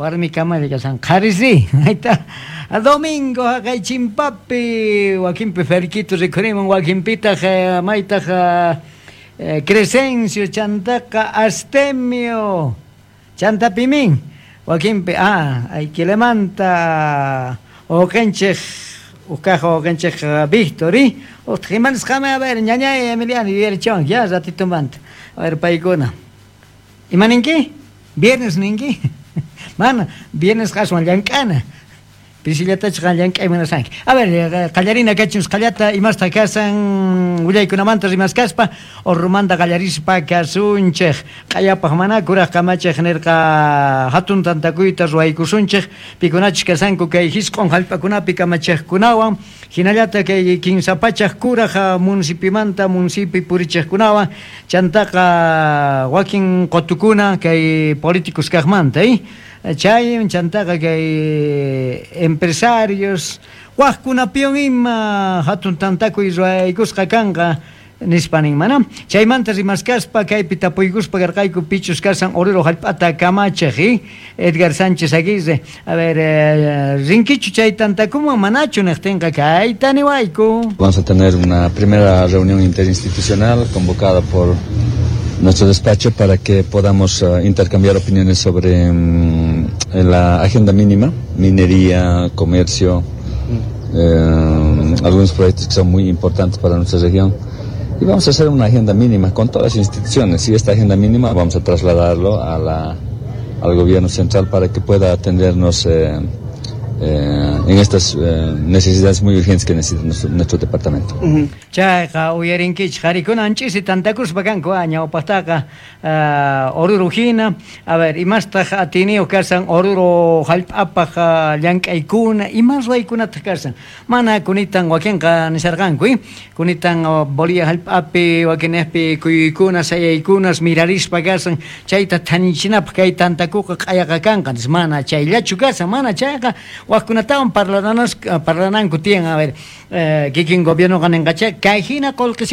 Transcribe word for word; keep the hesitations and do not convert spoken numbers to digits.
Warmi kamalla kasan qharisi. Ahí domingo haqay chimpapi wakinpi Ferquito rikhurimun, wakinpitaq maytaq Crescencio chantaqa Astemio chantapimin wakinpi ah aykilemanta uqanchik uqkaq uqanchik Victor utaq imanisqami. A ver, ñañay Emiliano yuyarichwan ya ratitumanta. A ver, paykuna ima ninki? Viernes ninki? Mana, viernes aswan llank'ana, pisillatachu qan llank'ay munasanki. A ver, qallarina kachun qallata imasta kasan willaykunamanta rimaskaspa. Orurumanta qallarispa kasunchik. Q'ayapaq mana kuraq kamachiq nirqa hatun tantakuyta ruwaykusunchik pikunachus kasanku kay hisq'un hallp'akunapi kamachiqkunawan, hinallata kay kinsa pachak kuraq municipimanta municipi purichiqkunawan, chantaqa wakin qutukuna kay políticos kaqmanta eh chay chantaqa kay empresarios waqkunapiwan ima hatun tantakuy ruwaykusqa kanqa nispa nin mana. Chaymanta rimaskaspa kaypi tapuykuspa karqayku pichus kasan Oruro hallp'ata kamachiq eh Edgar Sánchez Aguirre. A ver, eh, rinkichu chay tantakuman manachu niqtinqa kayta niwayku. Vamos a tener una primera reunión interinstitucional convocada por nuestro despacho para que podamos uh, intercambiar opiniones sobre um, la agenda mínima, minería, comercio, eh, algunos proyectos que son muy importantes para nuestra región. Y vamos a hacer una agenda mínima con todas las instituciones y esta agenda mínima vamos a trasladarlo a la, al gobierno central para que pueda atendernos eh, eh, en estas eh, necesidades muy urgentes que necesita nuestro, nuestro departamento. Chayqa uyarinkichik qarikuna anch'isi tantakuspa kanku ñawpaqtaqa uh, Oruro hina. A ver, imastaq atiniyuq kasan Oruro hallp'apaq llank'aykuna, ima ruwaykunataq kasan? Mana kunitan wakinqa nisharqanku eh? Kunitan Bolivia hallp'api wakinniqpi kuyuykuna sayaykunas mirarispa kasan, chayta thanichinapaq kay tantakuqa q'ayaqa kanqa. Mana chayllachu kasan, mana chayqa waqkunatawan parlananas parlananku tiyan. A ver, eh, kikin gobiernoqa ninqacha kay hina qullqisita.